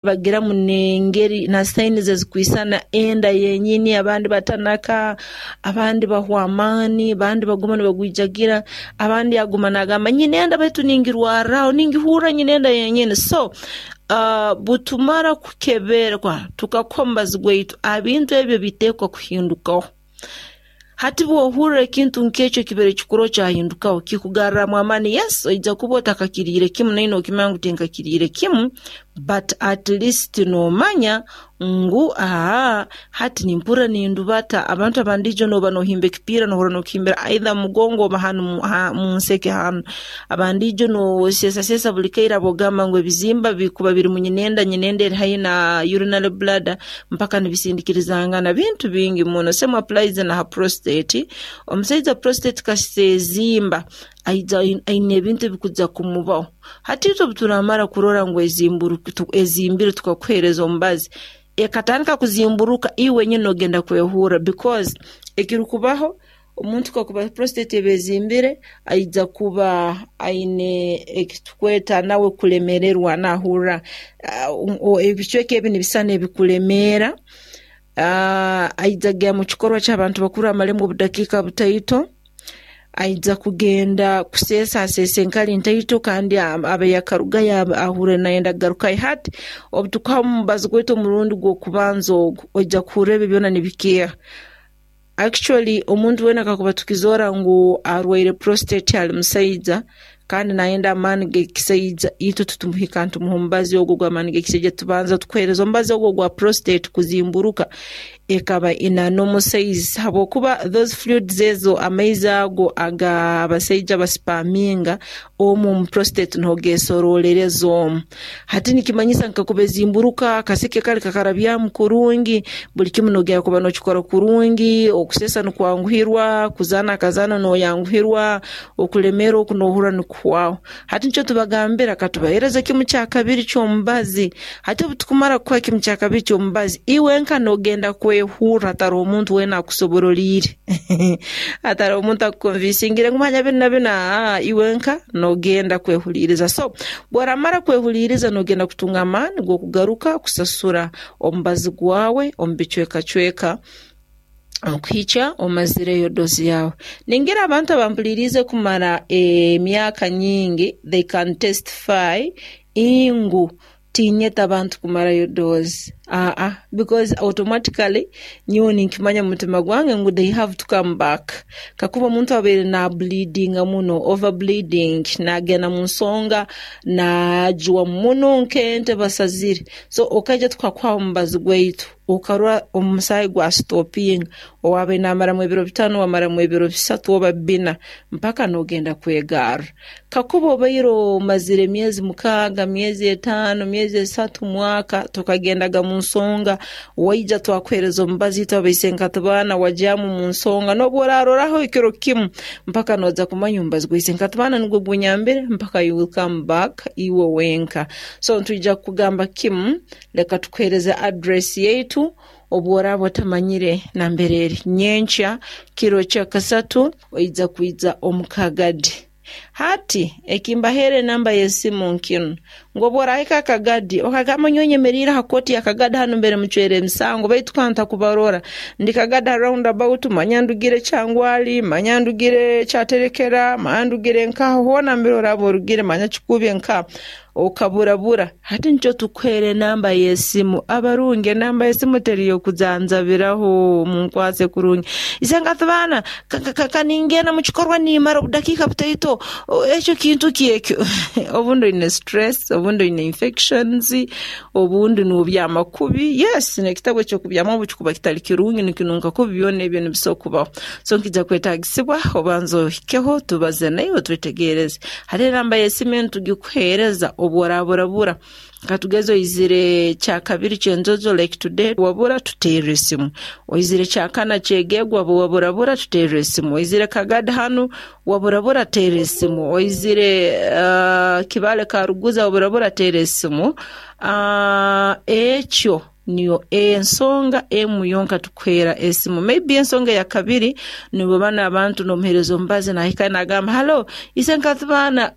Bagiramu n'engeri na signs ezikwisana enda yenyini, abandi batanaka, abandi bahwa amaani, abandi baguma nibagwijagira, abandi aguma naagamba nyine enda baitu ningirwarraho, ningihurra nyine enda yenyini. So butumara kukeberwa tukakuha omubazi gwaitu, ebintu ebyo biteekwa kuhindukaho. Hati bw'ohurra ekintu nk'ekyo kibaire kikuru kyahindukaho, kikugarramu amaani. Yes, oija kuba otakakiriire kimu nainwe nookimanya ngu tinkakiriire kimu, but at least noomanya ngu aa hati nimpurra nindubata. Abantu abandi ijo nooba noohimba ekipiira noohurra nookihimbira either mu mugongo oba hanu mu nseke hanu. Abandi ijo nooseesaseesa buli kaire habw'okugamba ngu ebizimba bikuba biri mu nyinenda, nyinenda eri haihi na urinary bladder mpaka nibisindikirizangana, bintu bingi muno. Same applies na ha prostate. Omusaija prostate kasita ezimba, aija aine ebintu ebikuja kumubaho. Hati itwe obu turaamara kurora ngu ezimbire tukakuheereza omubazi, ekatandika kuzimburuka, iwe wenyini noogenda kwehurra because ekirukubaho omuntu kakuba prostate eba ezimbire, aija kuba aine eki tukweta nawe kulemererwa, naahurra ebicweka ebi nibisana ebikulemeera, aija kugenda mu kikorwa ky'abantu bakuru amalemu obudakiika butaito, aija kugenda kuseesa aseese enkali ntaito kandi abe yakarugayo ahurre nayenda kugarukayo. Hati obu tukuha omubazi gwaitu omurundi gw'okubanza ogu, oija kuhurra ebi byona nibikeeha. Actually omuntu weena kakuba tukizoora ngu arwaire prostate ali musaija kandi nayenda amaani g'ekisaija, itwe titumuhika nitumuha omubazi ogu ogw'amaani g'ekisaija, tubanza tukuheereza omubazi ogu ogwa prostate kuzimburuka ekaba ina normal size habwokuba those fluids ezo, amaizi ago ag'abasaija basipaaminga omu omu prostate nuho geesorolereza omu. Hati nikimanyisa ngu kakuba ezimburuka, akaseke kali kakarabyamu kurungi, buli kimu noogenda kuba nookikora kurungi, okuseesa nikwanguhirwa, kuzaana akazaano nooyanguhirwa, okulemeerwa oku noohurra nikuhwaho. Hati nikyo tubagambira katubaheereze kimu kya kabiri ky'omubazi. Hati obu tukumara kukuha kimu kya kabiri ky'omubazi, iwe nka noogenda kwehurra hataroho omuntu weena akusoboroliire, hataroho omuntu akukonvinsingire ngu manya binu na binu, aa iwe nka noogenda kwehuliiriza. So bw'oramara kwehuliiriza noogenda kutunga amaani g'okugaruka kusasura omubazi gwawe omu bicwekacweka okuhikya omazireyo dozi yaawe. Ningira abantu abampuliriize kumara emyaka nyingi they can testify ngu tinyeta abantu kumarayo dozi, aa because automatically nyowe ninkimanya omu mutima gwange ngu they have to come back. Kakuba omuntu abaire naableedinga muno, over bleeding, naagenda mu nsonga naajwa muno nk'ente basazire, so okaija tukakuha omubazi gwaitu okarora omusaayi gwasitopinga, owaabaire naamaramu ebiro 5 wamaramu ebiro 3 oba 4 mpaka noogenda kwegarra. Kakuba obaire omazire emyezi 6, myezi 5, myezi 3, mwaka tokagendaga mu nsonga, waija twakuheereza omubazi itwe abaisenkatibaana wagyamu mu nsonga, n'obu oraaroraho ekiro kimu mpaka nooja kumanya omubazi gwa isenkatibaana nugwo gunyambire mpaka you will come back iwe wenka. So nitwija kukugamba kimu, leka tukuheereze address yaitu obu oraaba otamanyire nambere eri. Nyenkya kiro kyakasatu oija kwija omu Kagadi. Hati ekimbaheere enamba y'esimu nkinu, ngu obu oraahika Kagadi okagamba nyowe nyemeriire ha kooti ya Kagadi hanu mbere mucwera emisango baitu ka ntakubarora, ndi Kagadi ha round about, manya ndugire Kyangwali, manya ndugire Kyaterekera, manya ndugire nkaha, hoona mbere oraaba orugire manya Kikuube nkaha, okaburabura. Hati nikyo tukuheera enamba y'esimu. Abarungi enamba y'esimu teri y'okujanjabiraho, munkwase kurungi. Isenkatibaana kaningenda mu kikorwa nimara obudakiika butaito, ekyo kintu ki ekyo? Obundi oine stress, obundi oine infections, obundi noobyama kubi. Yes, n'ekitabu eky'okubyamamu obu kikuba kitali kirungi nikinunka kubi, byona ebyo nibisobora kubaho. So nikiija kwetaagisibwa obanze ohikeho tubaze naiwe twetegereze. Hati enamba y'esimu enu tugikuheereza obu oraaburabura. Katugeze oizire kyakabiri ky'enjojo like today wabura tuteerre esimu. Oizire kyakana ky'egeegwa waburabura tuteerre esimu. Oizire Kagadi hanu waburabura teera esimu. Oizire Kibaale Karuguza waburabura teera esimu. Ekyo. Niyo ensonga emu yonka tukuheera esimu. Maybe ensonga eya kabiri nibo banu abantu nomuheereza omubazi nahika nagamba hallo isenkatibana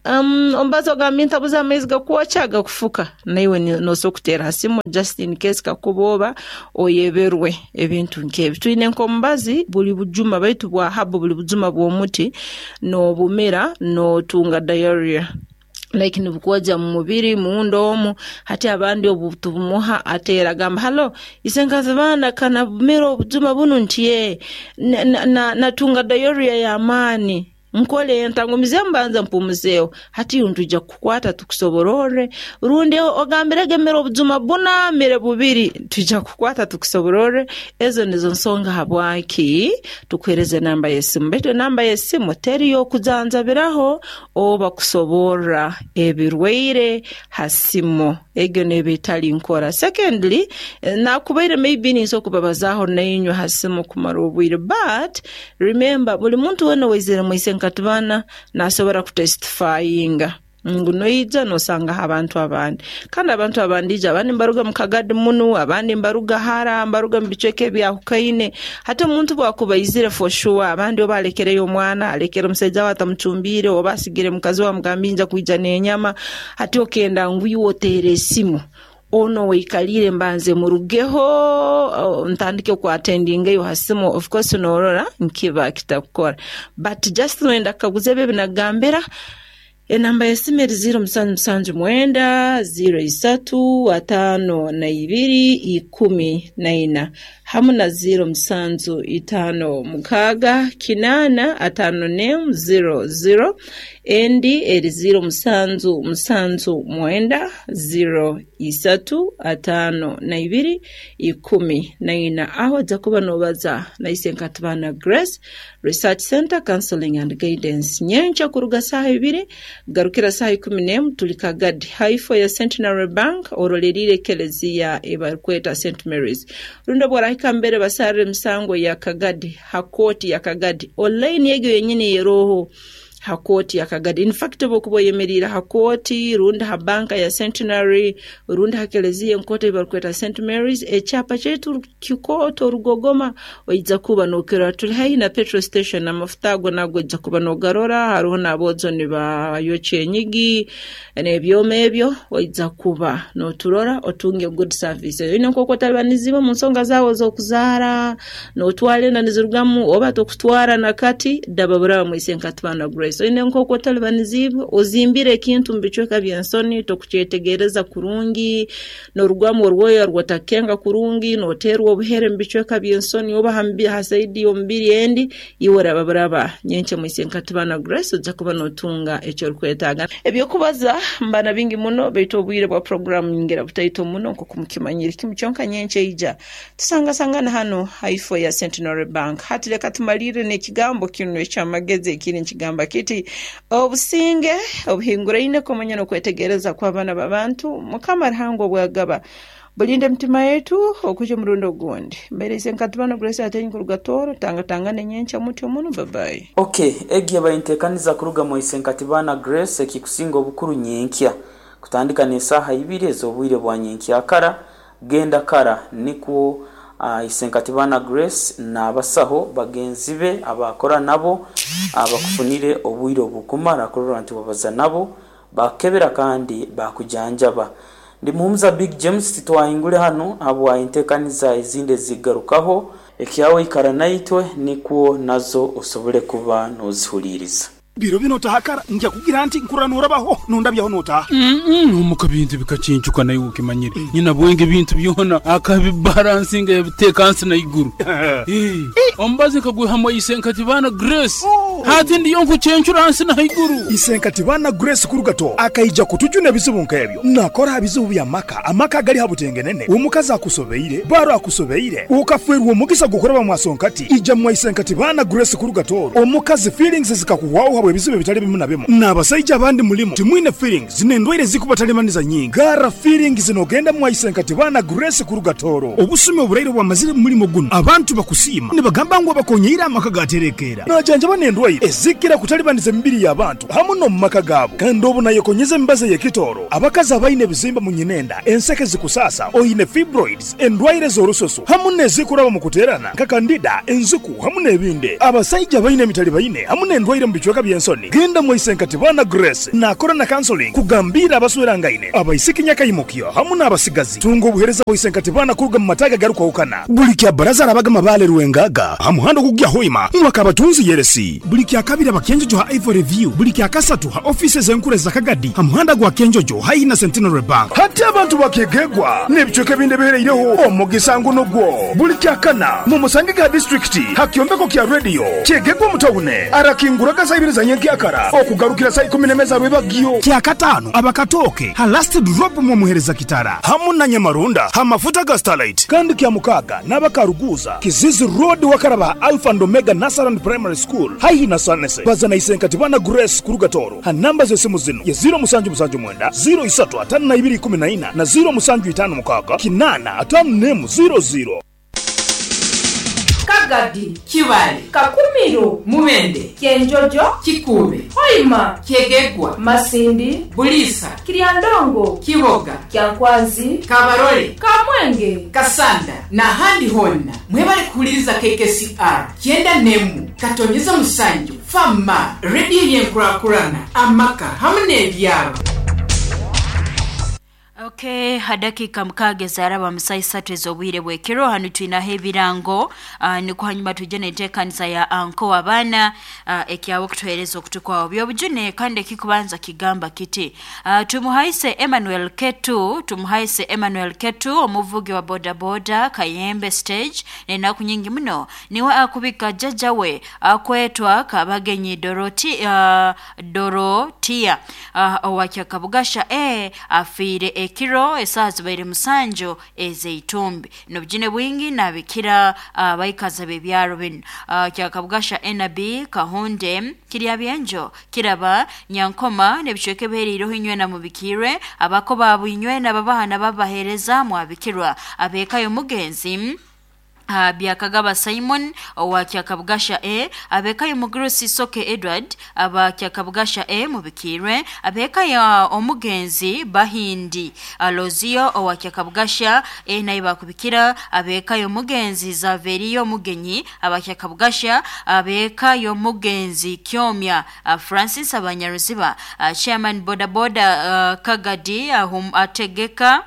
omubazi ogambye ntabuze amaizi gakwokya gakufuka naiwe nosobora kuteera ha simu just in case kakuba oba oyeberwe ebintu nk'ebi. Twine nk'omubazi buli bujuma baitu bwa herbal buli bujuma bw'omuti nobumira notunga diarrhea. Like nibukwogya mu mubiri munda omu, hati abandi obu tubumuha ateera agamba hallo isenkazi baana ka nabumira obujuma bunu nti ee natunga diarrhea y'amaani nkole nta ngumizeemu mbanze mpumuzeeho hati nitwija kukukwata tukusobororre rundi ogambirege mira obujuma buna mire bubiri twija kukukwata tukusobororre ezo nizo nsonga habwaki tukuheereza enamba y'esimu baitu enamba y'esimu teri y'okujanjabiraho Oba kusoborra ebirwaire ha simu egyo neeba etali nkora. Secondly, nakubaire maybe ninsobola kubabazaaho nainywe ha simu kumara obwire but remember buli muntu weena owaizire mu Isenkatibana nasobora kutestifyinga ngu noija nosangaho abantu abandi. Kandi abantu abandi ija abandi nibaruga mu Kagadi munu, abandi nibaruga hara, nibaruga mu bicweka ebyahukaine. Hati omuntu obu akuba aizire for sure, abandi oba alekereyo omwana, alekere omusaija we atamucumbiire, oba asigire mukazi we amugambiire nja kwija n'enyama, hati okenda ngu iwe oteere esimu onu owaikaliire mbanze murugeho ntandike ku attendingayo ha simu, of course norora nikiba kitakukora. But just noyenda kukaguza ebi ebinakugambira, Enamba y'esimu eri ziiro musanju musanju mwenda, ziiro isatu, ataano na ibiri, ikumi na ina, hamu na ziiro musanju itaano mukaaga, kinaana, ataano n'emu, ziiro ziiro. Endi eri ziiro musanju musanju mwenda, ziiro isatu, ataano na ibiri, ikumi na ina. Aho oija kuba noobaza na Isenkatibana Grace. Research Centre Counselling and Guidance nyenkya kuruga saaha ibiri kugarukira saaha ikumi n'emu tuli Kagadi haifo ya Centenary Bank oroleriire ekelezia ei barikweta St Mary's rundi obu orahika mbere basarra emisango ya Kagadi ha kooti ya Kagadi online egyo yenyini eroho ha kooti ya Kagadi in fact obu okuba oyemeriire ha kooti rundi ha banka ya Centenary rundi ha kelezia enkooto ei barikweta St Mary's ekyapa kyaitu Kikooto Rugogoma oija kuba nokirora tuli haihi na petrol station amafuta ago nago oija kuba nogarora haroho n'aboojo nibayokya enyigi n'ebyoma ebyo oija kuba noturora otunge good service oine nk'oku otalibanizibwe omu nsonga zaawe ez'okuzaara notwara enda nizirugamu oba tokutwara na kati daba buraba mwise nka Tubana Grace oine nk'oku otalibanizibwe ozimbire ekintu mu bicweka by'ensoni tokukyetegereza kurungi Norugwamu orwoya rw'otakukenga kurungi, noteerwa obuhere mu bicweka by'ensoni oba ha saidi y'omubiri endi, iwe oraba buraba. Nyenkya mwise nka Tubana Grace oija kuba notunga eki orikwetaaga. Eby'okubaza mba na bingi muno baitu obwire bwa puroguraamu nyingira butaito muno nk'oku mukimanyire. Kimu kyonka nyenkya eija tusangasangane hanu haifo ya Centenary Bank. Hati leka tumalirre n'ekigambo kinu eky'amagezi ekiri nikigamba kiti, Obusinge obuhinguraine kumanya n'okwetegereza kw'abaana b'abantu, Mukama Ruhanga obwagaba. Bulinde emitima yaitu okuhikya omurundi ogundi. Mbaire Isenkatibano Grace Atenyi kuruga Tooro, tangatangane nyenkya mutyo muno. Babayi. Ok, egi eba entekaniza kuruga mwa Isenkatibana Grace ekikusinga obukuru nyenkya. Kutandika n'esaaha ibiri ez'obwire bwa nyenkyakara, genda kara nikwo Isenkatibana Grace n'abasaho bagenzi be abaakora nabo bakufunire obwire obukumara kurora nti wabaza nabo, baakukebera kandi baakujanjaba. Ndi Muhumuza Big James titwahingule hanu habwa entekaniza ezindi ezikugarukaho. Ekyawe ikara naitwe nikwo nazo osobole kuba nozihuliiriza. Biro binu otaha kara, ngya kugira nti, Nkurora norabaho, nondabyaho notaha. Omuka bintu bikacincuka naiwe okimanyire. Nyina bwenge ebintu byona akabibaransinga yabiteeka nsi na iguru. Omubazi nkagwihamu Isenkatibana Grace. Hati ndiyo nkucencura nsi na haiguru. Isenkatibana Grace kuruga Toro akaija kutujuna ebizibu nk'ebyo. Nakora ha bizibu by'amaka, amaka agali ha butengenene, omukazi akusobeire, baro akusobeire, okafeerwa omugisa gw'okuraba mwa Sonkati, ija mwa Isenkatibana Grace kuruga Toro. Omukazi feelings zikakuhwaho habw'ebizibu ebitali bimu na bimu. N'abasaija abandi mulimu timwine feelings n'endwaire ezikubatalibaniza nyingi. Garra feelings n'ogenda mwa Isenkatibana Grace kuruga Toro. Obusumi oburaire obwamazire mu mulimo gunu abantu bakusiima nibagamba. Nagamba ngu abakonyeire amaka gaterekeera. Najanjaba n'endwaire ezikira kutalibaniza emibiri y'abantu hamu n'omu maka gaabo. Kandi obu nayekonyeza emibazi ey'ekitooro, abakazi abaine ebizimba mu nyinenda, enseke zikusaasa, oine fibroids, endwaire z'orususu hamu n'ezikuraba mu kuteerana nka kandida, enziku hamu n'ebindi. Abasaija abaine emitalibaine hamu n'endwaire mu bicweka by'ensoni, genda mwa Isenkatibana Grace nakora na counseling kugambiira abaswerangaine, abaisiki nyakaimukyo hamu n'abasigazi. Tunga obuheereza bwa Isenkatibana kuruga mu mataagi agarukwahukana. Buli kya Baraza arabaga Mabaale Rwengaga ha muhanda ogukugya Hoima mwaka abatunzi Yeresi. Buli kya Kabiri aba Kyenjojo ha Ivory View. Buli kya Kasatu ha ofiisi ez'enkuru eza Kagadi ha muhanda gwa Kyenjojo haihi na Centenary Bank. Hati abantu ba Kyegegwa n'ebicweka ebindi ebihereireho omugisa ngu nugwo. Buli kya Kana mumusangege ha disiturikiti ha kyombeko kya rediyo Kyegegwa omu tawune. Arakinguraga saa ibiri za nyenkyakara okugarukira saa ikumi n'emwe za rwebagyo. Kya Kataano aba Katooke ha Last Drop mwomuhereza Kitara hamu na Nyamarunda ha mafuta ga Starlight. Kandi kya Mukaaga n'aba Karuguuza, Kizizi Road wakaraba ha Alpha and Omega Nursery and Primary School haihi na Sanese. Baza na Isenkatibana Grace kuruga Tooro ha namba z'esimu zinu ye 0779 03 52 14 na 0756 8 51 00. Kagadi, Kibaale, Kakumiro, Mubende, Kyenjojo, Kikuube, Hoima, Kyegegwa, Masindi, Buliisa, Kiryandongo, Kiboga, Kyankwanzi, Kabarole, Kamwenge, Kasanda n'ahandi honna mwebale kuhuliriza KKCR kyenda n'emu katonyeza musanju fama rediyo y'enkurakurana amaka hamu n'ebyaro. Okay, hadakika mukaaga ezaraba mu saa isatu ez'obwire bw'ekiro hanu twinaho ebirango nikwo hanyuma tujje n'enteekaniza ya anko abaana ekyawe okutuheereza okutukwaho byobujune kandi ekikubanza kigamba kiti tumuhaise Emmanuel Ketu, tumuhaise Emmanuel Ketu omuvugi wa bodaboda Kayembe stage n'enaku nyingi muno niwe akubika jjajja we akwetwa Kabagenyi Doroti, Dorotia owa Kyakabugasha afiire ekiro esaaha zibaire musanju ez'eitumbi n'obujune bwingi nabikira abaikazi b'ebyaro binu Kyakabugasha NB Kahunde Kiryabyenjo Kiraba Nyankoma n'ebicweka ebihereireho inywena mubikirwe abako baabo inywena babaha babaheereza mwabikirwa abeekayo mugenzi Byakagaba Simon owa Kyakabugasha A, abekayo Mugurusi Soke Edward aba Kyakabugasha A mubikirwe, abekayo omugenzi Bahindi Alozio owa Kyakabugasha A naye bakubikira, abekayo omugenzi Zaverio Mugenyi aba Kyakabugasha, abekayo omugenzi Kyomya Francis Abanyaruziba, chairman boda boda Kagadi ategeka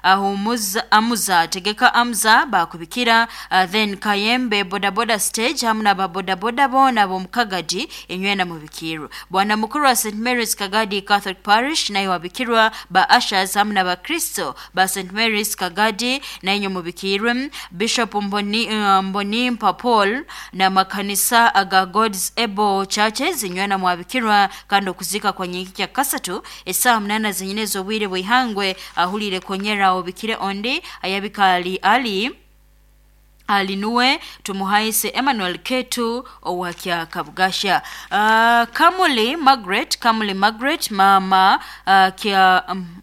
ahumuza amuza tegeka amza bakubikira then Kayembe bodaboda stage hamu na babodaboda bona bomukagadi enywena mubikirwa. Bwana mukuru wa St Mary's Kagadi Catholic Parish naye wabikirwa, ba ushers hamu na bakristo ba St Mary's Kagadi naye mubikirwe. Bishop Mboni, Mbonimpa Paul na makanisa aga God's Able Churches inywena mwabikirwa kandi okuzika kwa nyingi kya kasatu esaha 8 zenyine z'obwire bwihangwe ahulire konyera obikire ondi ayabikali ali alinuwe tumuhaise Emmanuel Ketu owa Kyakabugasha. Kamuli Margaret, Kamuli Margaret mama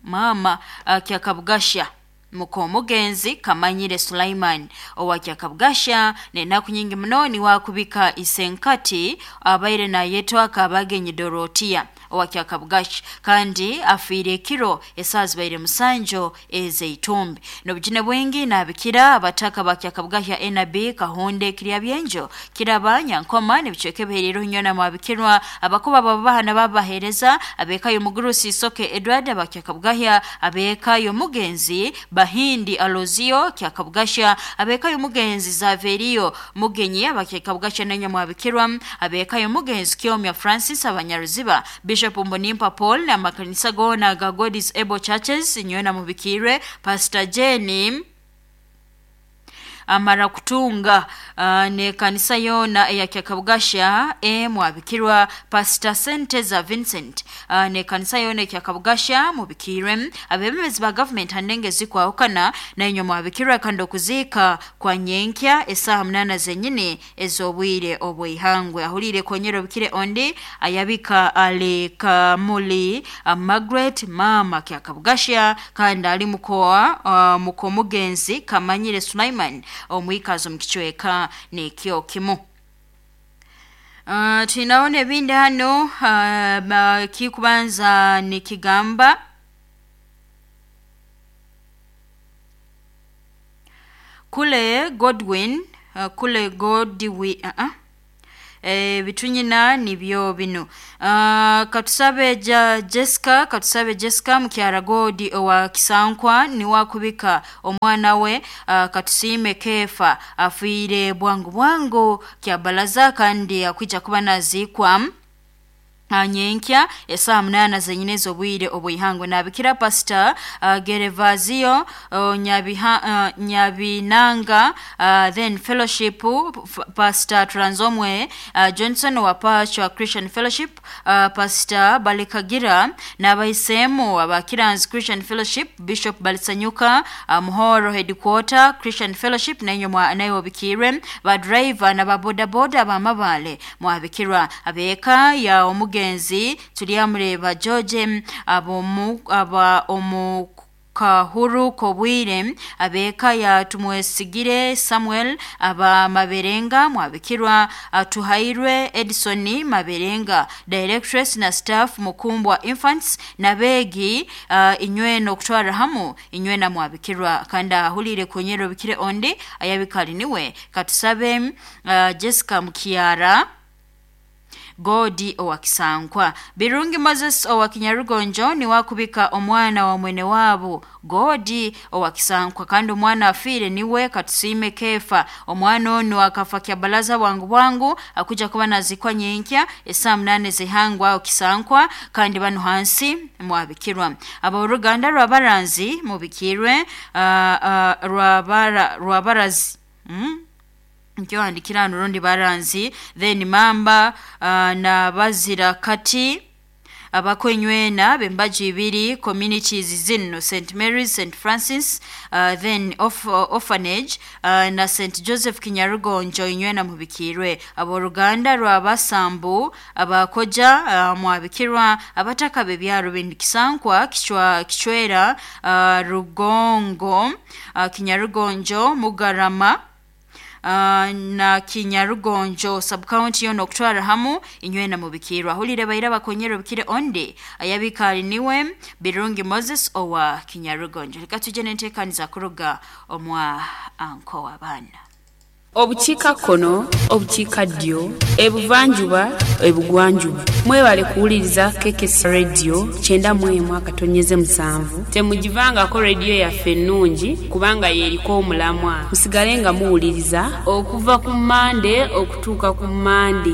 mama Kyakabugasha muko mugenzi Kamanyire Sulaiman owa Kyakabugasha n'enaku nyingi muno ni wakubika isenkati abaire nayetwa Kabagenyi Dorotia owa Kyakabugasha kandi afiire ekiro esaaha zibaire musanju ez'eitumbi n'obujune bwingi nabikira abataka ba Kyakabugasha NB Kahunde Kiryabyenjo Kiraba Nyankoma n'ebicweka ebihereire inywena mwabikirwa abakuba babaha nababaheereza abekayo Mugurusi Soke Edward aba Kyakabugasha, abekayo mugenzi Bahindi Alozio Kyakabugasha, abekayo mugenzi Zaverio Mugenyi aba Kyakabugasha nenya mwabikirwa, abekayo mugenzi Kyomya Francis Abanyaruziba, Bishop Mbonimpa Paul na makanisa gona ga God's Able Churches inywena mubikirwe. Pastor Jenny amara kutunga ne kanisa yona eya Kyakabugasha mwabikirwa. Pastor Senteza Vincent ne kanisa yona Kyakabugasha mubikirwe. Abebembezi ba government handenge zikwahukana na mwabikirwa kandi okuzika kwa nyenkya esaha 8 zenyine ez'obwire obwihangwe ahulire konyero bikire ondi ayabika ali Kamuli Margaret mama Kyakabugasha kandi ali mukoa muko mugenzi Kamanyire Sulaiman Omwikazo mu kicweka nikyo kimu. Tunaona ebindi hano kikubanza nikigamba kule Godwin, kule Godwi bitunyina nibyo bino. Katusabe Jessica, katusabe Jessica mukyara Godi owa Kisankwa niwakubika omwana we katusime Kefa afiire bwangu bwangu kyabalaza kandi akwija kuba nazikwa nyenkya esaa 8 zenyine z'obwire obwihangwe. Nabikira Pastor Gerevazio Nyabinanga then Fellowship, Pastor Tranzomwe Johnson wa Pastor Christian Fellowship, Pastor Balikagira n'abaisemu abakiranzi Christian Fellowship, Bishop Balisanyuka Muhoro Headquarter Christian Fellowship, nayo nayo bikire ba driver na ba boda boda abamabale mwabikirwa abeka ya omugenzi tulyamureba George aba omu Kahuru Kobwire, abeka ya Tumwesigire Samuel aba Maberenga mwabikirwa, Tuhairwe Edison Maberenga directress na staff Mukumbwa Infants na begi inywe no kutwara hamu inywe na mwabikirwa. Kandi ahulire kunyero bikire onde ayabikali niwe katusabe Jessica Mukiara Godi owa Kisankwa. Birungi Moses owa Kinyarugonjo ni wakubika omwana wa mwene wabo Godi owa Kisankwa, kandi omwana afire niwe katusime Kefa. Omwana ono akafa kyabalaza bwangu bwangu akuja kuba nazikwa nyenkya esaa 8 zihangwa aho Kisankwa, kandi bano hansi mwabikirwa. Aboruganda rwabaranzi mubikirwe rwabarazi nkyo andikira nurundi baranzi then mamba na bazira kati abakwenywena bembaji ibiri communities zino St Mary's, St Francis then orphanage na St Joseph Kinyarugonjo inywena mubikirwe. Aboruganda rwabasambu abakoja mwabikirwa abataka bebyaro bindikisankwa kichwa kichwera Rugongo Kinyarugonjo Mugarama na Kinyarugonjo subcounty yono okutwara hamu inywena mubikirwa. Hulire baira bakonyero bikire onde ayabikali niwe Birungi Moses owa Kinyarugonjo. Reka tuje n'enteekaniza kuruga omwa anko w'abaana. Obukiika kkono, obukiika ddyo, ebuvanjuba, ebugwanjuba. Mwebale kuwuliriza KKS Radio 91.7. Temugivangako rediyo yaffe ennungi kubanga y'eriko omulamwa. Musigale nga muwuliriza okuva ku Mmande okutuuka ku Mmande.